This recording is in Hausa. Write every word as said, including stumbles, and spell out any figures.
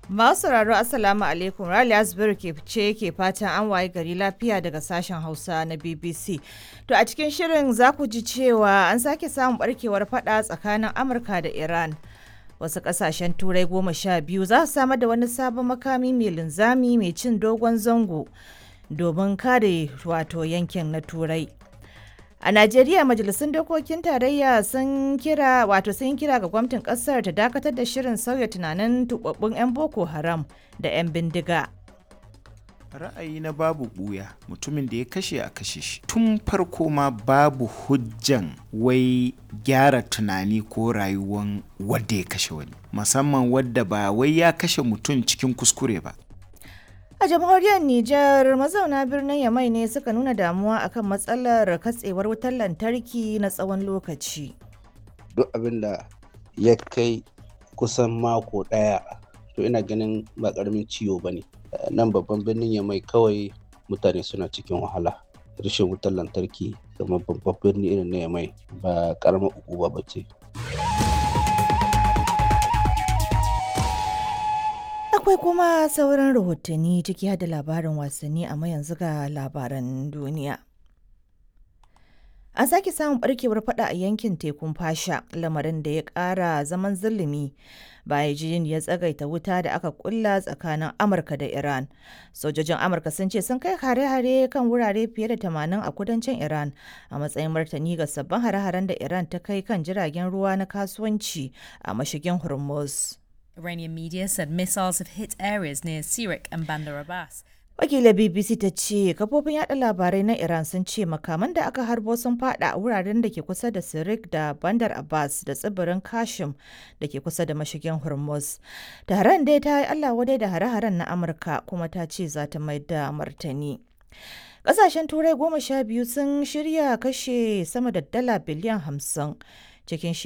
Masu sauraro, Assalamu alaikum. Raliya Zubairu ke ce ke fatan an waye gari lafiya daga sashen Hausa na B B C. To, a cikin shirin za ku ji cewa an sake samun barkewar fada tsakanin Amurka da Iran. Wasu kasashen Turai goma sha biyu za su samar da wani sabon makami mai linzami mai cin dogon zango domin kare wato yankin na Turai. A Najeriya, majalisun dokokin tarayya sun kira wato sun kira ga gwamnatin kasar ta dakatar da shirin sauya tunanin tubabbun 'yan Boko Haram da 'yan bindiga. Ra'ayi na babu buya, mutumin da ya kashe a kashe shi. Tun farko ma babu hujjan wai gyara tunani ko rayuwan wadda ya kashe wani, musamman wadda ba wai ya kashe mutum cikin kuskure ba. A jamhuriyar Nijar, mazauna birnin Yamai ne suka nuna damuwa akan matsalar katsewar wutar lantarki na tsawon lokaci. Duk abin da ya kai kusan mako ɗaya, to ina ganin ba ƙaramin ciwo ba ne. Nan babban birnin Yamai kawai mutane suna cikin wahala. Rashin wutar lantarki kamar babban birni irin na Yamai ba ƙaramar ukuba ba ce. Akwai kuma sauran rahotanni, ciki har da labarin wasanni, amma yanzu ga labaran duniya. An sake samun barkewar fada a yankin tekun Fasha, lamarin da ya kara zaman zulumi bayan ya tsagaita wuta da aka kulla tsakanin Amurka da Iran. Sojojin Amurka sun ce sun kai hare-hare kan wurare fiye da tamanin a kudancin Iran a matsayin martani ga sabbin hare-haren da Iran ta kai kan jiragen ruwa na kasuwanci a mashigin Hormuz. Iranian media said missiles have hit areas near Sirik and Bandar Abbas. Wakilar B B C ta ce kafofin yada labarai na Iran sun ce makaman da aka harbo sun fada a wuraren da ke kusa da Sirik da Bandar Abbas da tsibirin Kashim da ke kusa da mashigin Hormuz. Tehran dai ta yi Allah wadai da hare-haren na Amurka kuma ta ce za ta mai da martani. Kasashen Turai goma sha biyu sun shirya kashe sama da dala biliyan hamsin cikin shekaru